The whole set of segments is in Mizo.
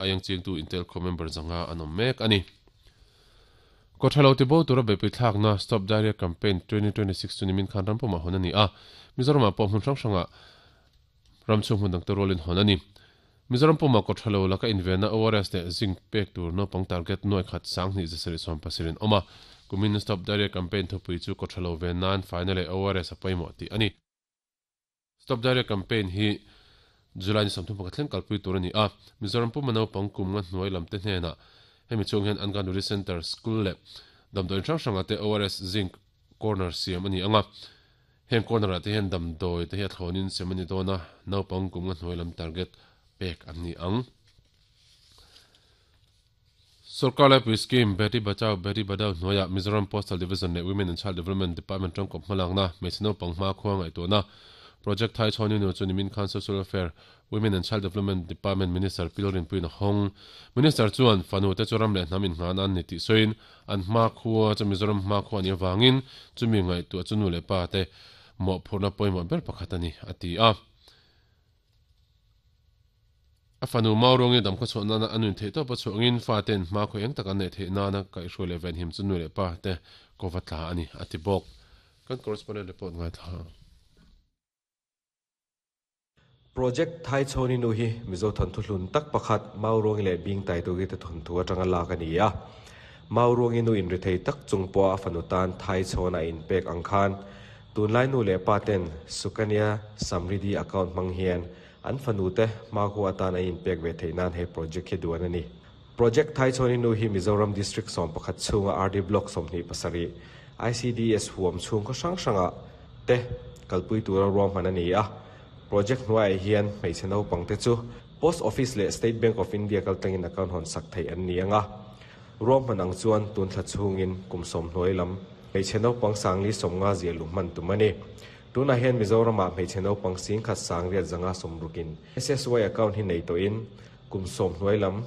Aieng chingtu Intel khaw member 500 an awm mek a ni. Kawthalo tibo tura beihpui thlakna Stop Diarrhea Campaign 2026 chu nimin khan rampumah hawn a ni a, Mizoramah pawh hmun hrang hrangah ramchhung hmun dangte rualin hawn a ni. Mizoram pumah kawthalo laka invenna ORS leh zinc pek tur naupang target nuai khat 2000 770 in awm a, kumin Stop Diarrhea Campaign thupui chu kawthalo ven nan faina leh ORS a pawimawh tih a ni. Stop Diarrhea Campaign hi July ni 31 thleng kalpui tur a ni a, Mizoram puma naupang kum nga hnuai lamte hnenah hemi chhung hian Anganwadi Centre, School leh damdawiin hrang hrangah te ORS Zinc Corner siam a ni ang a, heng corner ah te hian damdawi te hi a thlawnin sem a ni dawn a, naupang kum nga hnuai lam target pek an ni ang. Sorkar Laipui Scheme, Beti Bachao Beti Padhao hnuaiah Mizoram Postal Division leh Women and Child Development Department tangkawp hmalakna, hmeichhe naupang hmakhua ngaihtuahna Project Thai Chhawn Inu chu nimin khan Social Welfare, Women and Child Development Department Minister Pil Rinpuiin a hawng. Minister chuan, Fanu te chu ram leh hnam innghan an ni tih sawiin, an hmakhua chu Mizoram hmakhua a nih avangin chumi ngaihtuah chu nu leh pa te mawhphurhna pawimawh ber pakhat a ni, a ti a. A fanu Mauruangi damkhaw chhuah nana a nun theih tawp a chhuangin fate'n hma khaw eng tak an neih theih nana kaihhruai leh venhim chu nu leh pa te kova tla a ni, a ti bawk. Kan correspondent report ngaithla. Project Thai Chhawni nu hi Mizo thawnthu hlun tak pakhat Mauruangi leh Bing Taitugi te thawnthu atanga lak a ni a. Mauruangi nu inrithei tak chung pawha a fanu tan Thai Chhawn a inpek ang khan Tunlai nu leh pa ten Sukanya Samriddhi account hmang hian an fanu te hmakhua atan an inpek ve theih nan he project hi duan a ni. Project Thaichhawni nu hi Mizoram District 11 chhunga RD Block 27, ICDS huam chhung khaw hrang hrangah te kalpui tura ruahman a ni a. Project hnuaiah hian hmeichhe naupang te chu Post Office leh State Bank of India kaltlangin account hawn sak theih an ni ang a. Ruahman ang chuan tun thla chhungin kum sawm hnuai lam hmeichhe naupang sangli sawmnga zia luh hman tum a ni. Tunah hian Mizoramah hmeichhe naupang singkhat sangriat zanga sawmrukin SSY account hi nei tawhin kum sawm hnuai lam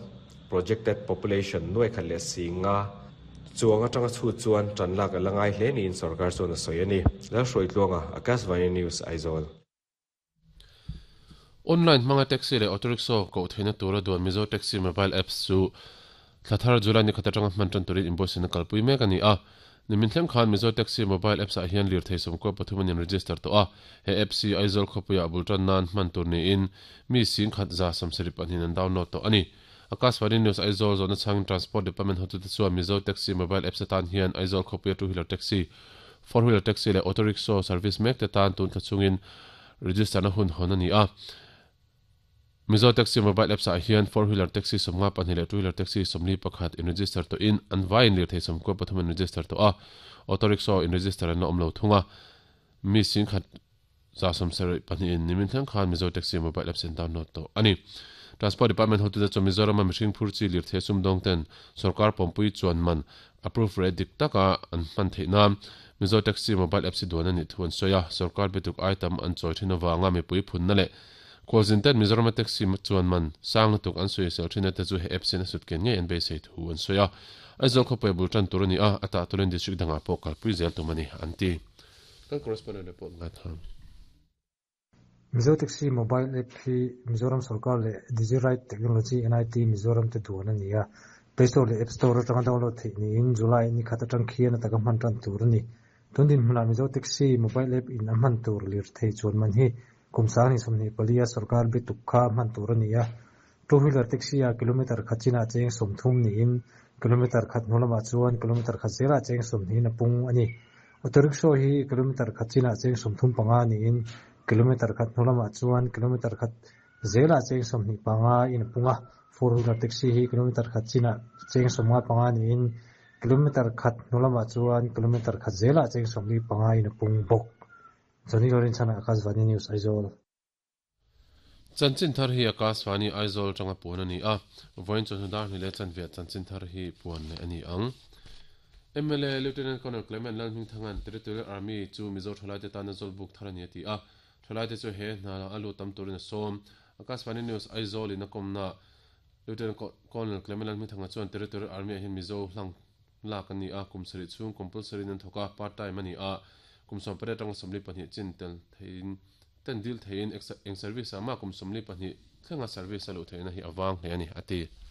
projected population nuai khat leh singa chuang atanga chhut chuan tan lak a la ngai hle niin sorkar chuan a sawi a ni. Lalhruaitluanga, Akashvani News, Aizawl. Online hmanga taxi leh auto rickshaw koh theihna tura duan Mizo Taxi Mobile Apps chu thla thar July ni khat atanga hman tan turin inbuatsaihna kalpui mek a ni a. Nimin thleng khan Mizo Taxi Mobile Apps ah hian lirthei 13 an inregister tawh a. He apps hi Aizawl khawpuiah bul tan nan hman tur niin mi 10,072 an download tawh a ni. Akashvani News Aizawl zawhna chhangin Transport Department hotute chuan Mizo Taxi Mobile Apps atan hian Aizawl khawpuia two wheeler taxi, four wheeler taxi leh auto rickshaw service mek te tan tun thla chungin register na hun hawn a ni a. Mizo Taxi Mobile Apps ah hian four wheeler taxi 52 leh two wheeler taxi 41 in register tawhin an vaiin lirthei 93 an register tawh a, auto rickshaw in register an la awm lo thung a. Mi 10,172 in nimin thleng khan Mizo Taxi Mobile Apps an download tawh a ni. Transport Department hotute chuan Mizorama mihring phur chi lirthei sumdawng ten sorkar pawmpui chuan man approve rate dik taka an hman theih nan Mizo Taxi Mobile Apps hi duan a nih thu an sawi a, sorkar bituk ai tam an chawi thin avanga mipui phunna leh khualzin ten Mizorama taxi chuan man sang lutuk an sawi sel thin te chu he apps hian a sut ken ngei an beisei thu an sawi a. Aizawl khawpui bul tan tur a ni a, a tah turin district dangah pawh kalpui zel tum a ni, an ti. Kan correspondent report ngaithla. Mizo Taxi Mobile App hi Mizoram sorkar leh Digiride Technology NIT Mizoram te duan a ni a. Play Store leh App Store atanga download theih niin July ni khat atang khian a taka hman tan tur a ni. Tun dinhmunah Mizo Taxi Mobile App in a hman tur lirthei chuan man hi kum 2024 a sorkar bituk kha a hman tur a ni a. Two wheeler taxi ah kilometer khat chinah cheng 30 niin kilometer khat hnu lamah chuan kilometer khat zelah cheng 20 a pung a ni. Auto rickshaw hi kilometer khat chinah cheng 35 niin kilometer khat hnu lamah chuan kilometer khat zelah cheng 25 in a pung a. Four wheeler taxi hi kilometer khat chinah cheng 55 niin kilometer khat hnu lamah chuan kilometer khat zelah cheng 45 in a pung bawk. Johnny Lorinchana, Akashvani News, Aizawl. Chanchin thar hi Akashvani Aizawl atanga puan a ni a, vawiin chawhnu dar hnih leh chanve ah chanchin thar hi puan leh a ni ang. Mla Lieutenant Colonel Clement Lalhmingthanga'n Territorial Army chu Mizo thalaite tana zawlbuk thar a ni a ti a, thalaite chu he hna a lut tam turin a sawm. Akashvani News Aizawl in a kawmnaah Lieutenant Colonel Clement Lalhmingthanga chuan Territorial Army ah hian Mizo hlang lak a ni a, kum sarih chhung compulsory in an thawk a, part time a ni a, kum 18 atanga 42 chin tel theihin. ten dil theiin eng service ah mah kum 42 thlenga service a luh theihna hi a vang hle a ni, a ti.